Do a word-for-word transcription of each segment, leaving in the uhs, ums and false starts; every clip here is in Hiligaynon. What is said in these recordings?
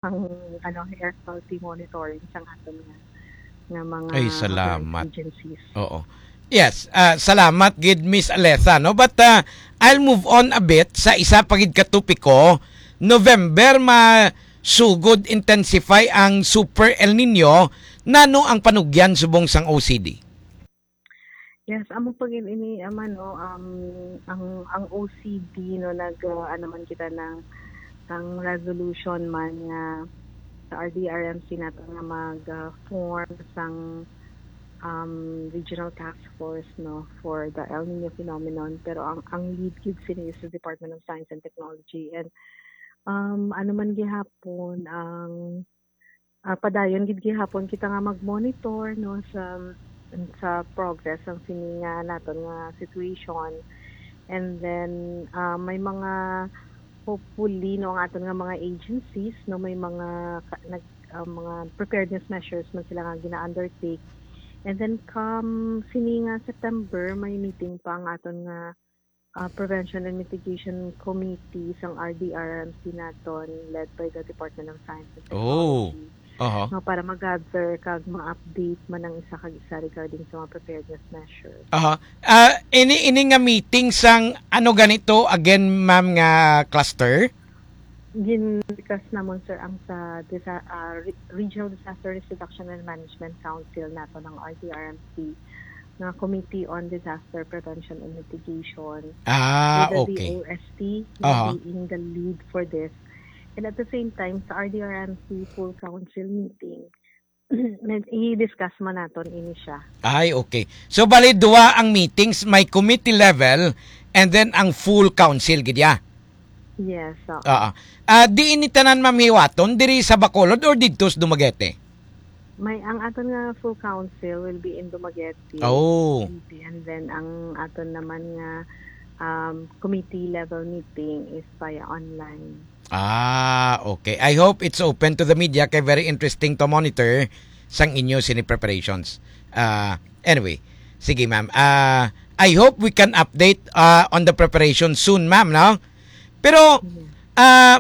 ang, ano, air quality monitoring sa aton nga, nga mga Ay, salamat. agencies. Oo. Yes, ah, salamat gid, Miss Alessa, no? But, ah, I'll move on a bit sa isa pa gid ka topiko. November, masugod intensify ang Super El Nino. Nano ang panugyan subong sang O C D? Yes, amo pa gid ini, ama, no, um, ang, ang O C D, no, nag, uh, ano man kita na, ang resolution man nga sa R D R M C nato nga mag, uh, form sang, um, regional task force, no, for the El Nino phenomenon. Pero ang, ang lead gid sini is the Department of Science and Technology. And, um, ano man gihapon ang, ah, padayon gid gihapon kita nga mag-monitor, no, sa, sa progress ang sini nga naton nga situation. And then, ah, may mga, hopefully, no, ang aton nga mga agencies, no, may mga ka- nag ah, mga preparedness measures man sila nga gina-undertake. And then come sini nga September, may meeting pa ang aton nga, ah, Prevention and Mitigation Committee sang R D R M C naton, led by the Department of Science and Oh. Technology. Aha. No, para mag-gather kag ma-update man ang isa kag isa regarding sa mga preparedness measures. Aha. Ah, ini ini nga meeting sang ano ganito again, ma'am, nga cluster? Gin-discuss namon, sir, ang sa disa- ah, Re- Regional Disaster Risk Reduction and Management Council nato ng R D R M C nga Committee on Disaster Prevention and Mitigation Ah, with the okay. D O S T Aha. being the lead for this. And at the same time, sa R D R M C full council meeting, i-discuss man naton ini siya. Ay, okay. So, bali, duwa ang meetings, may committee level and then ang full council, gid ya? Yes, so, Oo. Ah, di ini tanan, ma'am, hiwaton diri sa Bacolod or didto sa Dumaguete? May ang aton nga full council will be in Dumaguete, Oh. City, and then ang aton naman nga, um, committee level meeting is via online. Ah, okay. I hope it's open to the media kay very interesting to monitor sang inyo sini preparations. Ah, anyway, sige, ma'am. Ah, I hope we can update, ah, on the preparation soon, ma'am, no? Pero ah,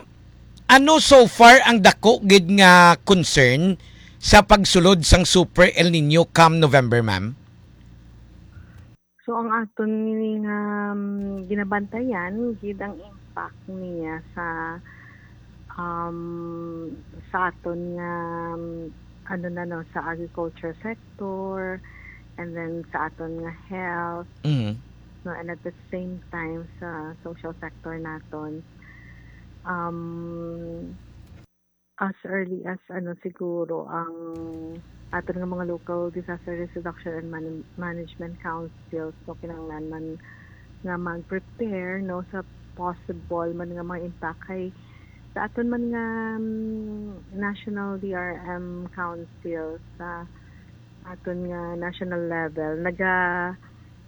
ano so far ang dako gid nga concern sa pagsulod sang Super El Nino come November, ma'am? So ang aton nga, um, ginabantayan gid ang impact niya sa, um, sa aton nga, um, ano na, no, sa agriculture sector, and then sa aton nga health, Mhm. no, and at the same time sa social sector naton. Um, as early as, ano, siguro ang aton nga mga local disaster risk reduction and man- management councils, no, kinahanglan man nga mag-prepare, no, sa possible man nga mga impact kay sa aton man nga, um, national D R M council sa aton nga national level, naga,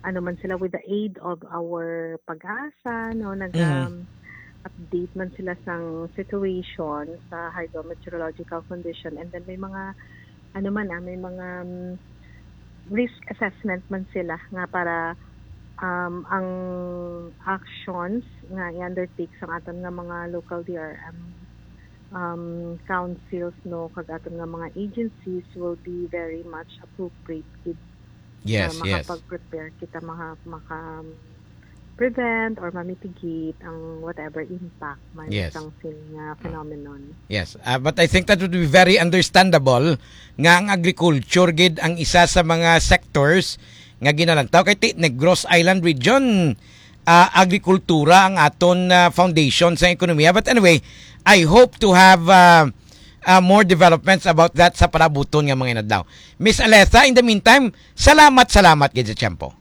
ano man sila, with the aid of our PAGASA, no, naga, Mhm. update man sila sang situation sa hydrometeorological condition, and then may mga, ano man, ah, may mga, um, risk assessment man sila nga para, um, ang actions nga i-undertake sang aton nga mga local D R M, um, councils, no, kag aton nga mga agencies will be very much appropriate gid Yes, na yes. makapag-prepare kita, maka, maka prevent or ma-mitigate ang whatever impact man Yes. sang sini nga phenomenon. Yes, ah, but I think that would be very understandable nga ang agriculture gid ang isa sa mga sectors nga ginalantaw kay ti Negros Island region, ah, agrikultura ang aton, ah, foundation sa ekonomiya. But anyway, I hope to have, ah, ah, more developments about that sa palabuton nga mga inadlaw. Miss Alessa, in the meantime, salamat, salamat gid sa tiyempo.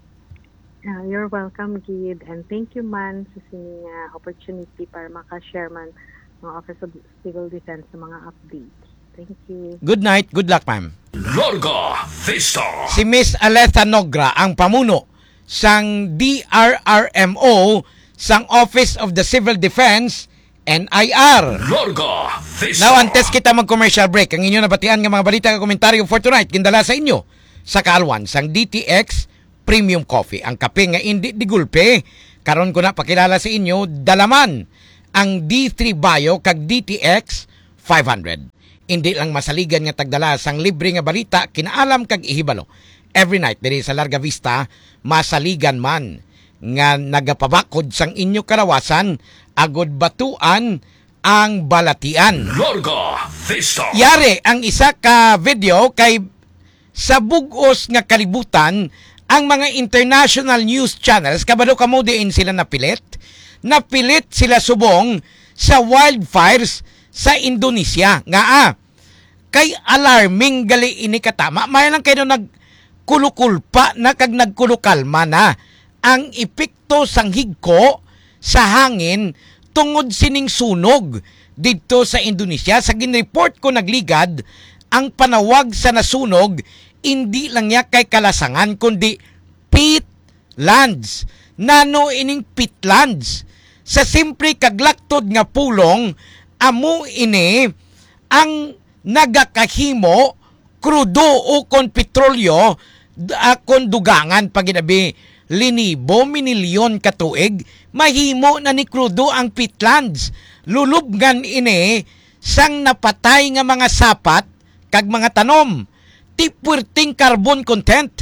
Ah, you're welcome, Gid, and thank you man sa sini nga opportunity para maka-share man ang Office of Civil Defense sa mga updates. Thank you. Good night, good luck, ma'am. Larga Vista. Si Miss Alessa Nogra ang pamuno sang D R R M O sang Office of the Civil Defense, N I R. Larga Vista. Now, antes kita mag-commercial break, ang inyo nabatian nga mga balita nga komentaryo for tonight, gindala sa inyo sa kaalwan sang D T X Premium Coffee, ang kape nga indi digulpe. Karon ko na pakilala sa inyo, dalaman ang D three Bio kag D T X five hundred. Indi lang masaligan nga tagdala sang libre nga balita, kinaalam kag ihibalo. Every night diri sa Larga Vista, masaligan man nga nagapabakod sang inyo kalawasan, agod batuan ang balatian. Larga Vista. Yari ang isa ka video kay sa bug-os nga kalibutan, ang mga international news channels, kabalo kamo diin sila napilit? Napilit sila subong sa wildfires sa Indonesia. Nga, ah, kay alarming gali ini katama. May lang kayo nagkulukulpa na kag nagkulukalma na ang epekto sang higko sa hangin tungod sining sunog didto sa Indonesia. Sa ginreport ko nagligad, ang panawag sa nasunog indi lang niya kay kalasangan, kundi peatlands. Nano ining peatlands? Sa simple kag laktod nga pulong, amo ini ang nagakahimo krudo o kon petrolyo, d-, ah, kon dugangan pa gid abi linibo, minilyon ka tuig, mahimo na ni krudo ang peatlands. Lulubngan ini sang napatay nga mga sapat kag mga tanom. Ti puwerteng carbon content.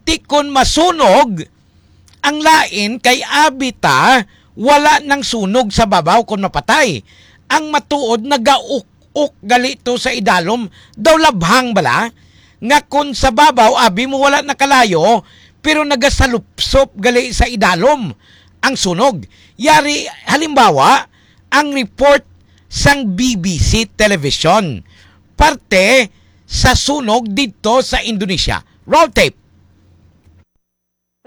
Ti kon masunog, ang lain kay abi ta, wala nang sunog sa babaw kon mapatay. Ang matuod nagauk-uk gali to sa idalom. Daw labhang bala nga kon sa babaw abi mo wala nakalayo, pero nagasalupsop gali sa idalom ang sunog. Yari, halimbawa, ang report sang B B C Television parte sa sunog didto sa Indonesia. Roll tape.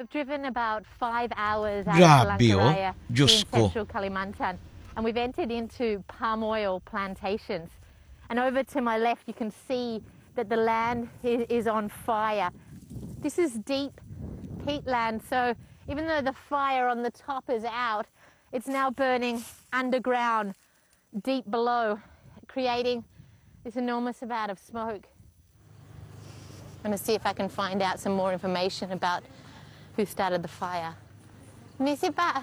We've driven about five hours out of Grabe, oh. Palangkaraya Diyos in ko. Central Kalimantan, and we've entered into palm oil plantations. And over to my left, you can see that the land i-, is on fire. This is deep peatland, so even though the fire on the top is out, it's now burning underground, deep below, creating this enormous amount of smoke. I'm gonna see if I can find out some more information about who started the fire. Misi, Pak,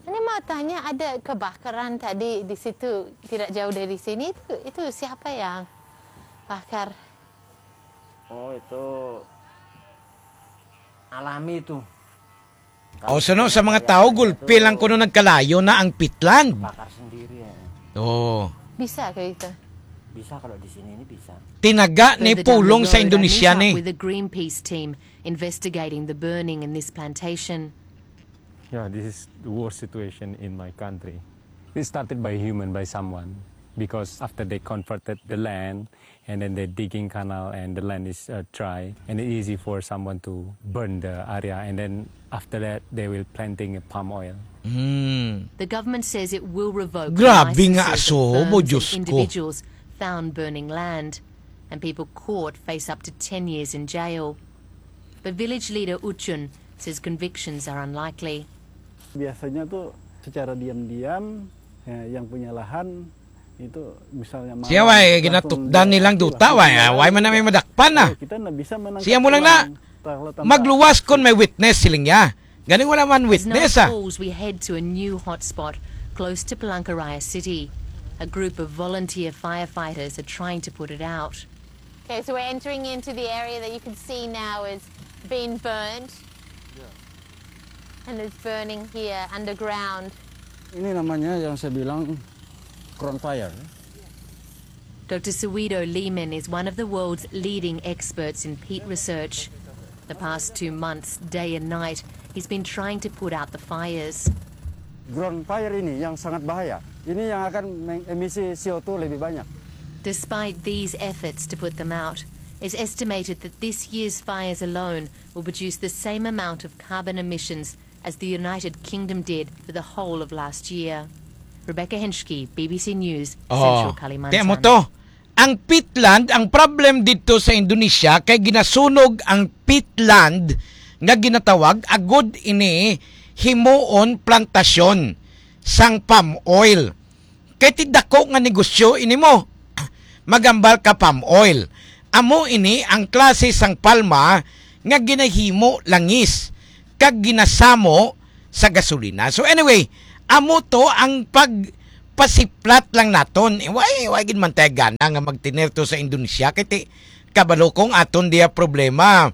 ini mau tanya, ada kebakaran tadi di situ, tidak jauh dari sini. Itu, itu siapa yang bakar? Oh, itu alami itu. O, suno sa mga tao, gulpi lang kuno nagkalayo na ang peatland. Bakar sendiri, eh. Oo. Bisa kayo ito? Bisa kalau di sini ini bisa. Tinaga ni Further down the pulong sa road, I Indonesia meet up ni. With the Greenpeace team investigating the burning in this plantation. Yeah, this is the worst situation in my country. It started by human, by someone, because after they converted the land, and then they're digging canal and the land is, uh, dry, and it's easy for someone to burn the area, and then after that they will planting a palm oil. Mm. The government says it will revoke the Grabe nga licenses of aso mo, firms and Diyos ko. individuals found burning land, and people caught face up to ten years in jail. But village leader Uchun says convictions are unlikely. Biasanya tuh secara diam-diam, eh, yang punya lahan itu misalnya Siya, malam, way, langsung ginatukdan dia nilang duta, way, ah, way man na may madakpan na. Siya mo lang na, magluwas kon may witness, siling niya. Ganing wala man witness, ah. As night falls, we head to a new hotspot close to Palangkaraya City. A group of volunteer firefighters are trying to put it out. Okay, so we're entering into the area that you can see now is being burned. And it's burning here underground. Ini namanya yang saya bilang ground fire. Doctor Suido Lehman is one of the world's leading experts in peat research. The past two months, day and night, he's been trying to put out the fires. Ground fire ini yang sangat bahaya. Ini yang akan mengemisi C O two lebih banyak. Despite these efforts to put them out, it's estimated that this year's fires alone will produce the same amount of carbon emissions as the United Kingdom did for the whole of last year. Rebecca Henschke, B B C News, Oh, Central Kalimantan. Tiyan mo to. Ang peatland, ang problem dito sa Indonesia kay ginasunog ang peatland nga ginatawag agod ini himuon plantasyon sang palm oil. Kay ti dako nga negosyo ini mo. Magambal ka palm oil. Amo ini ang klase sang palma nga ginahimo langis kag ginasamo sa gasolina. So anyway, amo to ang pag pasiplat lang naton. Eh, why, why gid man tayo gana nga magtinirto sa Indonesia? Kay ti, kabalo kong aton diya problema.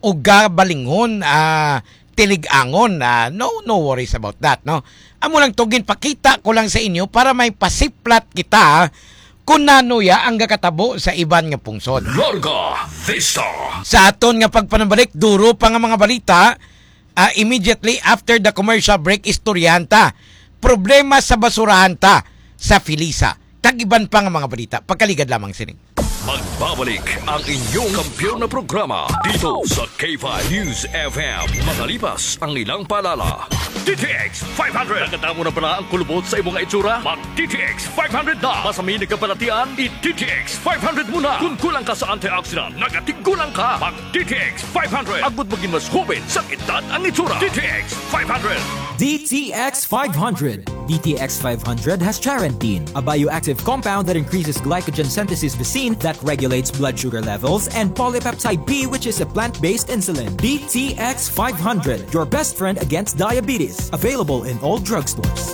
Uga balingon, ah, tiligangon. Ah, no, no worries about that, no? Amo lang to, ginpakita ko lang sa inyo para may pasiplat kita kung nano ya ang gakatabo sa iban nga pungsod. Larga Vista. Sa aton nga pagpanabalik, duro pa nga mga balita, ah, immediately after the commercial break, istoryahan ta. Problema sa basurahan ta sa Felisa. Kag iban pa nga mga balita. Pagkaligad lamang sini. Magbabalik ang inyong kampiyon na programa dito sa K five News F M. Makalipas ang ilang paalala. D T X five hundred. Nakadamo na bala ang kulubot sa imong itsura? Mag D T X five hundred na. Masami nagkabalatian, i D T X five hundred mo na. Kung kulang ka sa antioxidant, nagatiggulang ka. Mag D T X five hundred. Agud maging mas hubin sa edad ang itsura. D T X five hundred. D T X five hundred. D T X five hundred has charantine, a bioactive compound that increases glycogen synthesis, visin, that regulates blood sugar levels, and polypeptide B, which is a plant-based insulin. D T X five hundred, your best friend against diabetes. Available in all drugstores.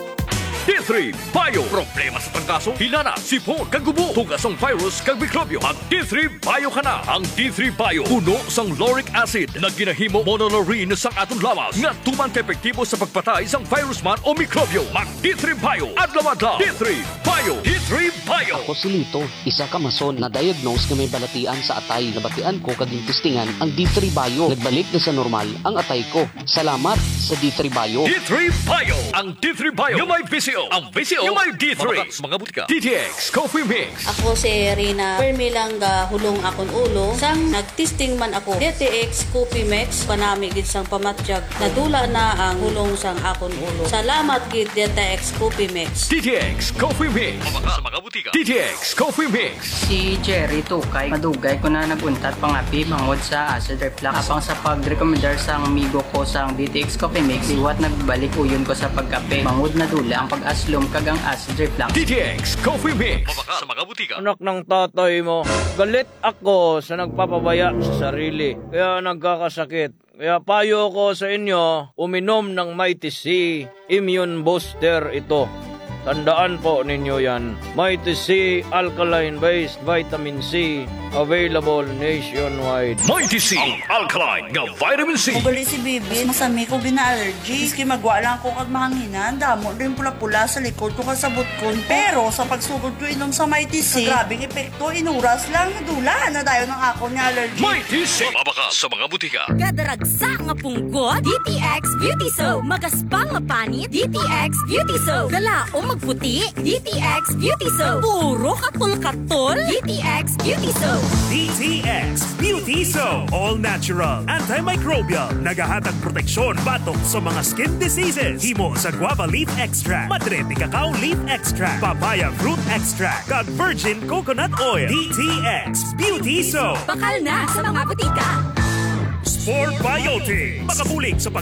D three Bio. Problema sa trangkaso, hinana, sipon, kag ubo, tugas ang virus kag mikrobyo. Mag D three Bio ka na. Ang D three Bio puno sang lauric acid nga ginahimo monolaurin sang aton lawas nga tuman ka epektibo sa pagpatay sang virus man o mikrobyo. Mag D three Bio adlaw-adlaw. D three Bio. D three Bio. Ako si Lito, isa ka mason na diagnose nga may balatian sa atay. Nabatian ko kag gintistingan ang D three Bio. Nagbalik na sa normal ang atay ko. Salamat sa D three Bio. D three Bio. Ang D three Bio nga may V C O. Ang V C O nga may D three. Mabakal sa mga butika. D T X Coffee Mix. Ako si Rina. Permi lang gahulong akon ulo. Sang nagtesting man ako, D T X Coffee Mix, panami gid sang pamatyag. Nadula na ang hulong sang akon ulo. Salamat gid, D T X Coffee Mix. D T X Coffee Mix. Mabakal sa mga butika. D T X Coffee Mix. Si Jerry Tukay, madugay ko na nag-untat pangapi bangod sa acid reflux. Apang sa pagrekomendar sang amigo ko sang D T X Coffee Mix, liwat nagbalik uyon ko sa pagkape. Bangod nadula ang pag-aslom kag ang acid reflux. D T X Coffee Mix. Mabakal sa mga butika. Anak ng tatay mo, galit ako sa nagpapabaya sa sarili, kaya nagkakasakit. Kaya payo ko sa inyo, uminom ng Mighty C. Immune booster ito. Tandaan po ninyo yan. Mighty C Alkaline Based Vitamin C, available nationwide. Mighty C Alkaline nga Vitamin C. Ugali si Bibi, masami ko gina-allergy. Maski magwa lang ko kag mahanginan, damo din pula-pula sa likod ko kag sa butkon ko. Pero sa pagsugod ko inom sa Mighty C, grabing epekto, inuras lang, nadula na dayon ang akon nga allergy. Mighty C. Mabakal sa mga butika. Kadaragsa nga punggot, D T X Beauty Soap. Magaspang nga panit, D T X Beauty Soap. Kalaom magputi, D T X Beauty Soap. Puro katol-katol, D T X Beauty Soap. D T X Beauty Soap. All natural, antimicrobial. Nagahatag proteksyon batok sa mga skin diseases. Himo sa guava leaf extract, madre de cacao leaf extract, papaya fruit extract, kag virgin coconut oil. D T X Beauty Soap. Bakal na sa mga butika. Spore Biotic. Makabulig sa pag